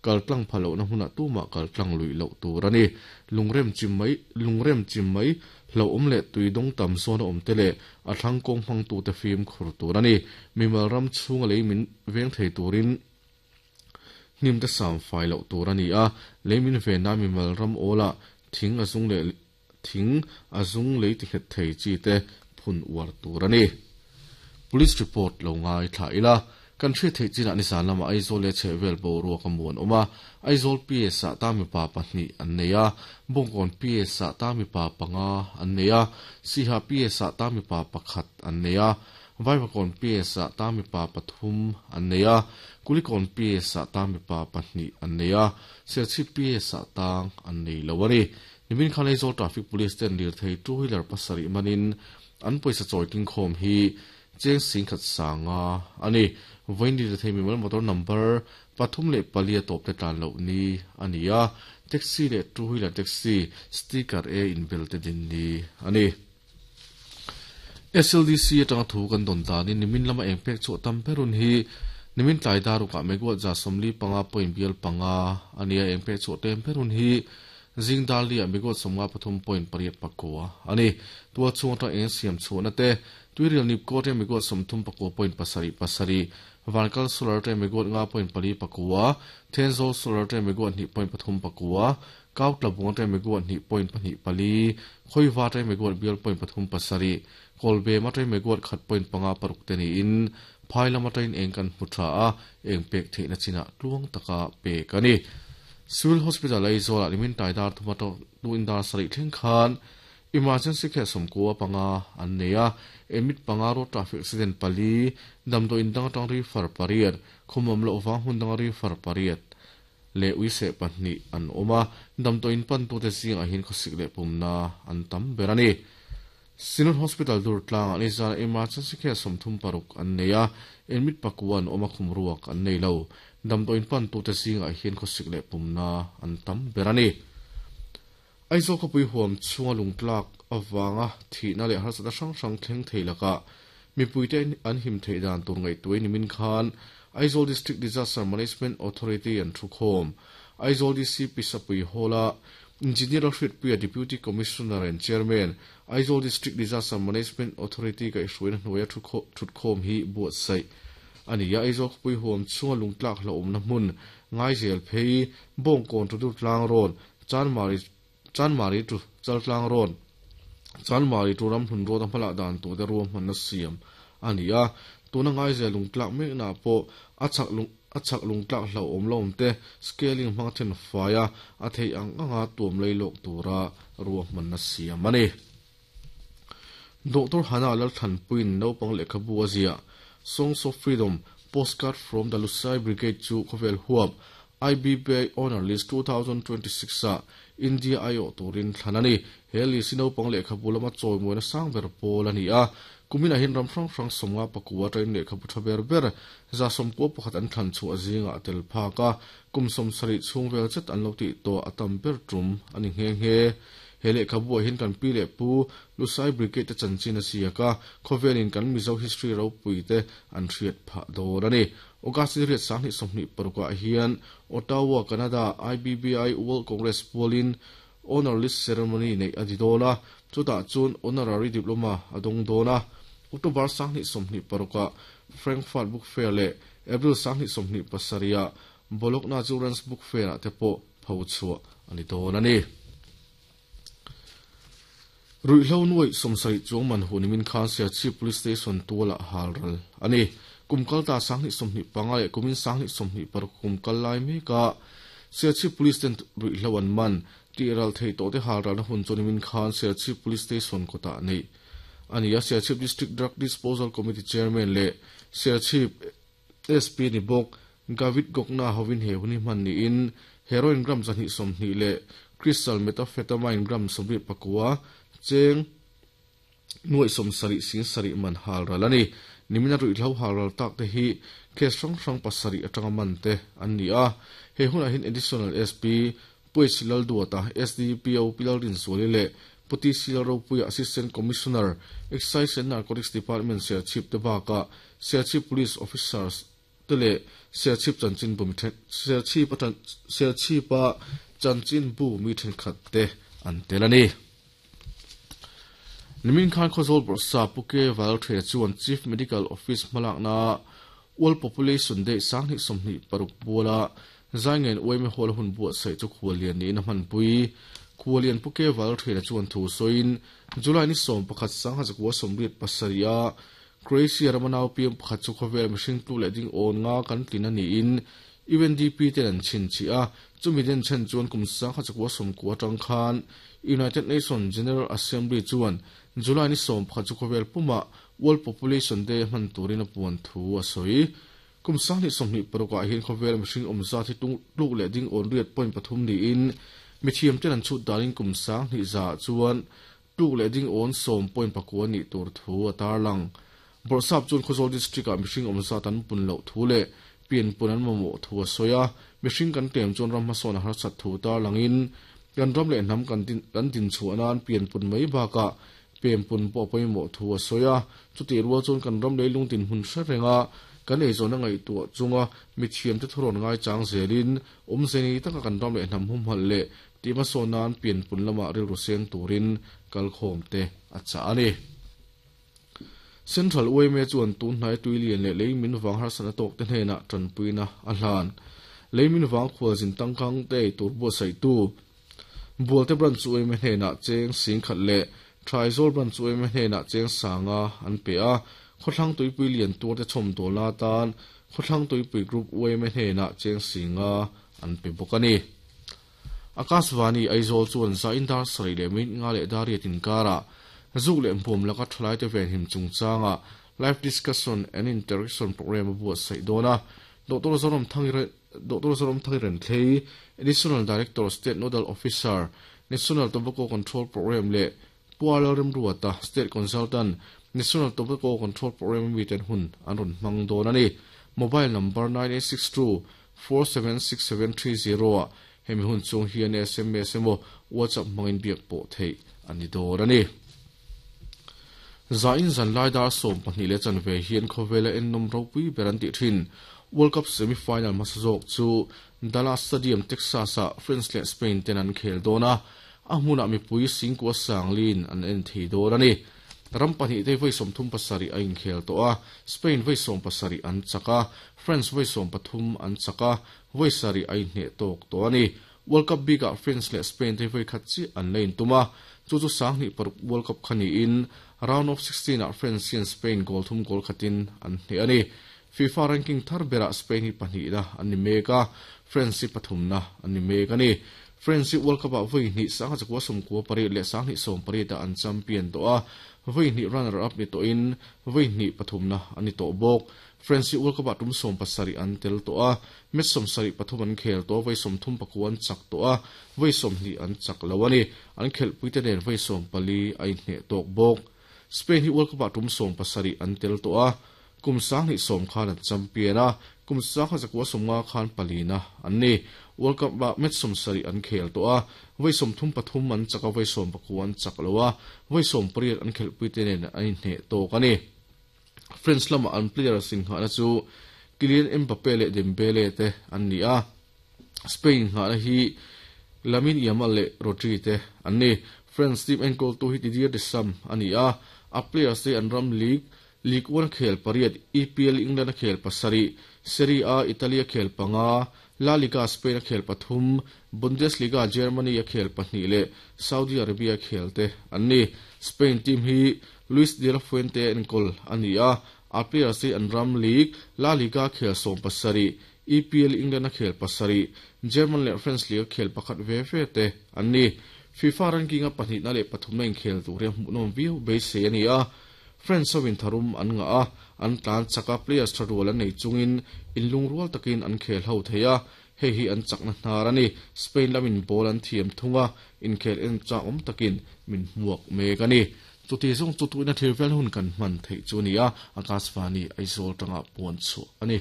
Kal tlang pha lohna hmunah tumah kal tlang luih loh tur a ni. Lungrem chim mai lungrem chim mai hlauhawm leh tui dawng tam zawn a awm te leh a thlang kawng hmangtute fimkhur tur a ni. Mimal ram chhunga lei min veng thei turin hnim te sam fai loh tur a ni a. Lei min venna mimal ram awlah thing a zung leh thing a zung lei ti nghet thei chi te phun uar tur a ni. Police report lo ngaithla ila, kan hriat theih chinah nizan lamah Aizawl leh chhehvel boruak a muan awm a, Aizawl PS ah ta mipa pahnih an nei a, Bawngkawn PS ah ta mipa panga an nei a, Siha PS ah ta mipa pakhat an nei a, Vaivakawn PS ah ta mipa pathum an nei a, Kulikawn PS ah ta mipa pahnih an nei a, Serchhip PS ah tang an nei lo a ni. Nimin khan Aizawl Traffic Police ten lirthei two wheeler pasarih manin an pawisa chawi tlingkhawm hi cheng singkhat sanga a ni. Vawiin lirthei mimal motor number 34 a tawp te tlan loh ni a ni a, taxi leh two wheeler taxi sticker e inbel te din ni a ni. SLDC atanga thu kan dawn danin nimin lama eng pek chhuah tam ber hun hi nimin tlai darukah megawatt 75 point bial panga a ni a, eng pek chhuah tlem ber hun hi Zing dar liah megawatt 53.8 a ni. Tual chhung atang eng siam chhuahna te, Tuirial Nipko atang megawatt 39.77, Vankal Solar atang megawatt 5.49, Thenzawl Solar atang megawatt 2.39, Kautlabung atang megawatt 2.24, Khawiva atang megawatt bial point pathum pasarih, Kawlbem atang megawatt khat point panga paruk te niin Phai lam atangin eng kan hmu tha a, eng pek theihna chinah tluang taka pek a ni. Civil Hospital Aizawlah nimin tai dar thuma tuin dar sarih thleng khan Emergency Care sawmkua panga an nei a, admit panga road traffic accident pali, damdawiin dang atang refer pariat, khawmawm loh vang hmun danga refer pariat leh uiseh pahnih an awm a, damdawiin pantute zingah hian khawsik leh pumna an tam ber a ni. Synod Hospital Durtlangah nizan emergency care 36 an nei a, admit pakua an awm a khum ruak an nei lo. Damdawiin pantute zingah hian khawsik leh pumna an tam ber a ni. Aizawl khawpui huam chhunga lungtlak avanga thihna leh harsatna hrang hrang thleng thei lakah mipuite an him theih dan tur ngaihtuah nimin khan Aizawl District Disaster Management Authority an thukhawm. Aizawl DC Pisapui Hall-a Engineer Lalhriatpuia Deputy Commissioner and Chairman, Aizawl District Disaster Management Authority kaihhruaina hnuaia thutkhawm hi buatsaih a ni a. Aizawl khawpui huam chhunga lungtlak hlauhawmna hmun Ngaizel phei, Bawngkawn to Durtlang Road, Chanmari Chanmari to Chaltlang Road, Chanmari to Ramhlun Road a hmalah dan turte ruahmanna siam a ni a. Tuna Ngaizel lungtlak meknaah pawh a chak lung A chak lungtlak hlauhawm lo awm te scaling hmang then fai a, a theih ang anga tuam lei lawk tura ruahmanna siam a ni. Doctor Hannah Lalthanpuiin naupang lehkhabu a ziah Songs of Freedom, Postcard from the Lusai Brigade chu khawvel huap IBBI Honour List 2026 ah India aiawh turin thlan a ni. He list hi naupang lehkhabu lama chawimawiina sang ber pawl a ni a, kuminah hian ram hrang hrang sawmnga pakua atangin lehkhabu tha ber ber 111 an thlan chhuah zingah a tel phak a, kum 70 chhung vel zet an lo tih tawh a tam ber tum a ni nghe nghe. He lehkhabuah hian kan pi leh pu Lusai Brigade te chanchin a ziak a, khawvelin kan Mizo history ropui te an hriat phah dawn a ni. August ni riat 2026 ah hian Ottawa, Canada IBBI World Congress pualin Honour List Ceremony neih a ni dawn a, chutah chuan Honorary Diploma a dawng dawn a. October 2026 ah Frankfurt Book Fair leh April 2027 ah Bologna Children's Book Fair ah te pawh pho chhuah a ni dawn a ni. Ruihhlo nuaih 70 chuang man hu nimin khan Serchhip Police Station tualah halral a ni. Kum kal ta 2025 leh kumin 2026 kum kal lai meka Serchhip Police ten ruihhlo an man tih ral theih tawh te halralna hun chu nimin khan Serchhip Police Station kawtah neih a ni a. Serchhip District Drug Disposal Committee Chairman leh Serchhip SP ni bawk Gavit Gokna hovin he hun hi hman niin heroin gram 120 leh crystal methamphetamine gram 79 cheng nuaih 70 sing sarih man halral a ni. Nimina ruihhlo halral tak te hi case hrang hrang pasarih atanga man te an ni a. He hunah hian Additional SP Puaisi Lalduata, SDPO Pi Lalrinzuali leh Pu TC Lalropuia Assistant Commissioner, Excise and Narcotics Department Serchhip te bakah Serchhip Police Officers te leh Serchhip chanchinbu mi Serchhip a Serchhip a chanchinbu mi thenkhat te an tel a ni. Nimin khan Khawzawl Bawrhsa Pu K Valthre chuan Chief Medical Office hmalakna World Population Day 2026 puala Zaingen Uaime Hall a hun buatsaih chu khuallian niin a hmanpui. Khuallian Pu K Valthre chuan thu sawiin July ni 11 1987 a Croatia rama nau piang pakhat chu khawvel mihring tlu leh ding awn nga kan tlin a niin UNDP ten an chhinchhiah a, chumi den chhen chuan kum 1990 atang khan United Nations General Assembly chuan July ni 11 chu khawvel pumah World Population Day a hman turin a puan thu a sawi. Kum 2026 ah hian khawvel mihring awm zat hi tluk leh ding awn riat point pathum niin mithiam ten an chhut danin kum 2100 chuan tluk leh ding awn sawm point pakua nih tur thu a tarlang. Bawrhsap chuan Khawzawl District ah mihring awm zat an pun loh thu leh pian pun an mamawh thu a sawi a, mihring kan tlem chuan ram hmasawn a harsat thu tarlangin kan ram leh hnam kan kan din chhuah nan pian pun mai bakah pem pun pawh a pawimawh thu a sawi a, chutih rual chuan kan ram leilung dinhmun hre renga kan eizawn a ngaihtuah chunga mithiam te thurawn ngaichang zelin awmze ni taka kan ram leh hnam humhalh leh tih hmasawn nan pian pun lamah rilru seng turin kalkhawm te a chah a ni. Central YMA chuan tun hnai tui lian leh lei min vang harsatna tawk te hnenah tanpuina a hlan. Lei min vang khualzin tangkang te ei tur buatsaihtu Bualte Branch YMA hnenah cheng sing khat leh Thaizawl Branch YMA hnenah cheng sanga an pe a, Khawthlang Tuipui lian tur te chhawm dawlna atan Khawthlang Tuipui Group YMA hnenah cheng singa an pe bawk a ni. Akashvani Aizawl chuan zain dar sarih leh minute nga leh dar riat inkarah zuk leh hmuam laka thalaite venhim chungchanga Live Discussion and Interaction Programme a buatsaih dawn a. Doctor Zoram Thangire Doctor Zoram Thangiren Thlei, Additional Director State Nodal Officer, National Tobacco Control Programme leh Pu Arlo Remruata, State Consultant, National Tobacco Control Programme a miten hun an rawn hmang dawn a ni. Mobile number 9862 476730 ah hemi hun chung hian sms emaw WhatsApp hmangin biak pawh theih a ni dawn a ni. Zain zanlai dar 12 leh chanve hian khawvela ennawm ropui ber an tih thin World Cup semi-final hmasa zawk chu Dallas Stadium, Texas ah France leh Spain ten an khel dawn a, a hmunah mipui singkua sanglin an en thei dawn a ni. Ram pahnih te vawi 37 a inkhel tawh a, Spain vawi 17 an chak a, France vawi 13 an chak a, vawi sarih a inhneh tawk tawh a ni. World Cup bikah France leh Spain te vawi khat chiah an la intum a, chu chu 2006 World Cup kha niin round of 16 ah France hian Spain goal thum goal khatin an hneh a ni. FIFA ranking thar berah Spain hi pahnihna an ni mek a, France hi pathumna an ni mek a ni. France hi World Cup ah vawi hnih 1998 leh 2018 ah an champion tawh a, vawi hnih runner up ni tawhin vawi hnih pathumna an ni tawh bawk. France hi World Cup ah tum 17 an tel tawh a, match 73 an khel tawh, vawi 34 an chak tawh a, vawi 20 an chak lo a ni. An khelhpui te nen vawi 14 a inhneh tawk bawk. Spain hi World Cup ah tum 17 an tel tawh a, kum 2010 khan an champion a, kum 1950 khan palina an ni. World Cup ah match 70 an khel tawh a, vawi 33 an chak a, vawi 19 an chak lo a, vawi 18 an khelhpui te nen an inhneh tawk a ni. France lama an player singhahna chu Kylian Mbappe leh Dembele te an ni a, Spain nghahna hi Lamine Yamal leh Rodri te an ni. France team enkawltu hi Didier Deschamps a ni a, a players te an ram league Ligue 1 a khel pariat, EPL England a khel pasarih, Serie A Italy a khel panga, La Liga Spain a khel pathum, Bundesliga Germany a khel pahnih leh Saudi Arabia a khel te an ni. Spain team hi Luis de la Fuente a enkawl a ni a, a players hi an ram league La Liga khel 17, EPL England a khel pasarih, German leh French league a khel pakhat ve ve te an ni. FIFA ranking a pahnihna leh pathumna inkhel tur hi a hmuhnawm viau beisei a ni a, France ho in tharum an ngah a, an tlan chak a, players tha rual an nei chungin inlungrual takin an khel ho thei a, hei hi an chakna hnar a ni. Spain lamin ball an thiam thung a, inkhel en chak awm takin min hmuak mek a ni. Chuti zawng chu tuina thil vel hun kan hman theih chu a ni a, Akashvani Aizawl tanga puan chhuah a ni.